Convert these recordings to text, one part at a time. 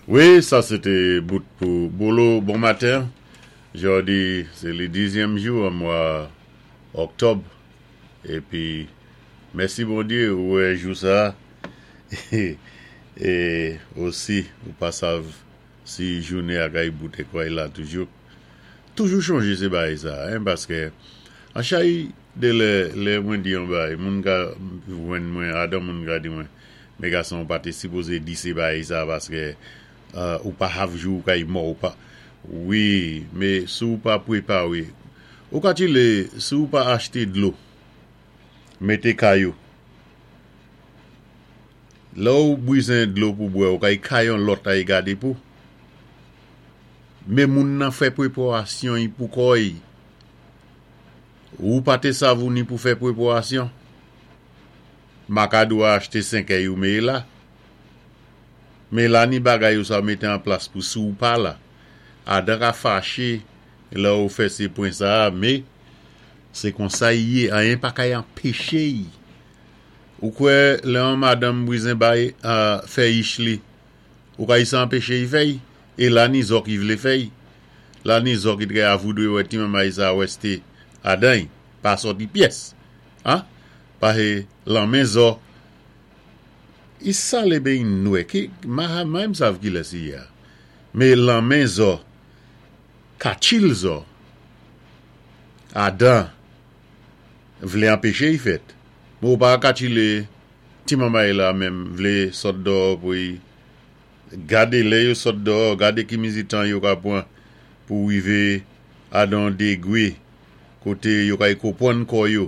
Wi, sa sé té bout pou Bolo bon maten. Jòdi sé li dizyèm jou an mwa Òktòb. Épi mèsi Bondyé ou wè jou sa é osi ou pa sav si jounen a kay bout é kway la toujou. Toujou chonjé sé bagay sa hein paskè an chay de lè lè mwen di yon bagay moun ka jwenn mwen adan moun ka di mwen Men gason ou pa te sipoze di se bagay sa paske ou pa hav jou ou kay mò ou pa wi me si ou pa prepare ou ka tchile si ou pa achte dlo mete kay ou lè ou bwizen dlo pou bwè ou kay kay yon lòt ay gade pou me moun nan fè preporasyon y pou kò y ou pa te sav ou ni pou fè preporasyon. Makadou a achte senkèy ou me la. Me la ni bagay ou sa mete an plas pou si ou pa la. Adan ka fache lè ou fè se pwen sa a me se konsa y ye anyen pa kay anpeche y. Ou kwè lè yon madanm bwizen bay fè ich li ou ka y sa anpeche y fè y? E la ni zò ki vle fè y. La ni zò ki trè avoudre wè ti manmay sa wèste Adan y pa sòti pyès. A Pahe lanmen zò I sale be i nwè ki maha may m sav kilès i ye a me lanmen zò kachil zò Adan vle anpeche i fèt men ou pa kachile ti manmay la menm vle sòt dòò pou i gade lè yo sòt dòò gade ki mizi tan yo ka pwan pou rive adan degre kote yo kay kopwann kò yo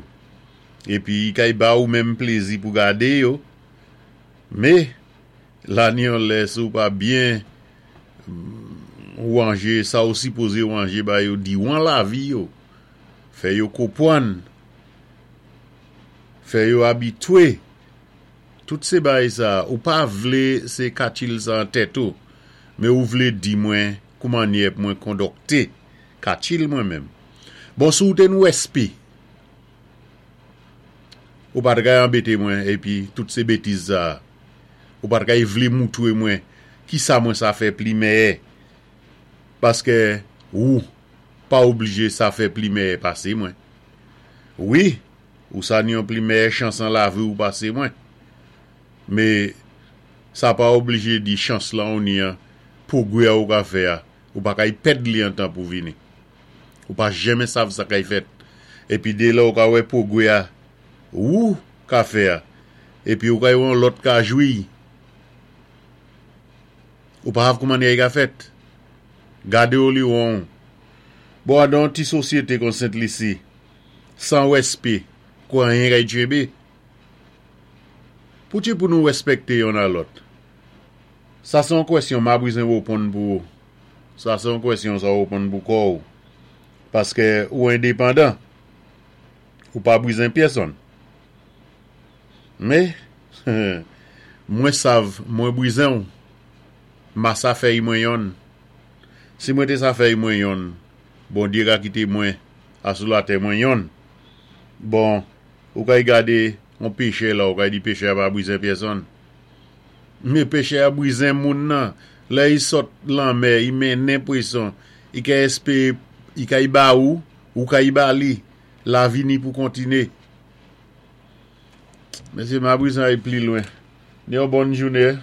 epi i kay ba ou menm plezi pou gade yo me la ni yon lè si ou pa byen wanje sa ou sipoze wanje ba yo diwan lavi yo fè yo kopwann fè yo abitwe tout se bay sa ou pa vle se katchil sa an tèt ou me ou vle di mwen koumannyè pou mwen kondòkte Katchil mwen menm. Bon si w te n wespi ou pat kay anbete mwen epi tout se betiz sa ou pat kay vle moutre mwen kisa mwen sa fè pli mèyè paske ou pa oblije sa fè pli mèyè pase mwen wi ou sa n yon pli mèyè chans an lavi w pase mwen me sa pa oblije di chans lan ou ni an pwogrè ou ka fè a Ou pa kay pèd li antan pou vini. Ou pa jenmen sav sa kay fèt. Epi de lè ou ka wè pwogwe a wou ka fè a. Epi ou kay wè yon lòt ka jwi. Ou pa hav kouman yay ka fèt. Gade ou li wonw. Bon adan yon ti sosyete kon Sent Lisi, san wèspe, kou anyen kay tchenbe. Pouti pou nou wèspèkte yonn a lòt. Sa se yon kwèsyon ma bwizen woponn pou ou. Sa se yon kwèsyon sa woponn pou kò ou. Paske ou endepandan. Ou pa bwizen pyèsonn. Me, mwen sav mwen bwizen ou. Ma sa fèy mwen yonn. Si mwen te sa fèy mwen yonn, Bondye ka kite mwen a sou latè mwen yonn. Bon, ou kay gade yon pechè la, ou kay di pechè a pa bwizen pyèsonn. Men pechè a brizen moun nan, lè i sot lanmè, i mennen pweson, i ka espere i ka i ba ou, ou ka i ba li, lavi ni pou kontine. Mesye, ma brizen ay pli lwen. Ni yon bòn joune.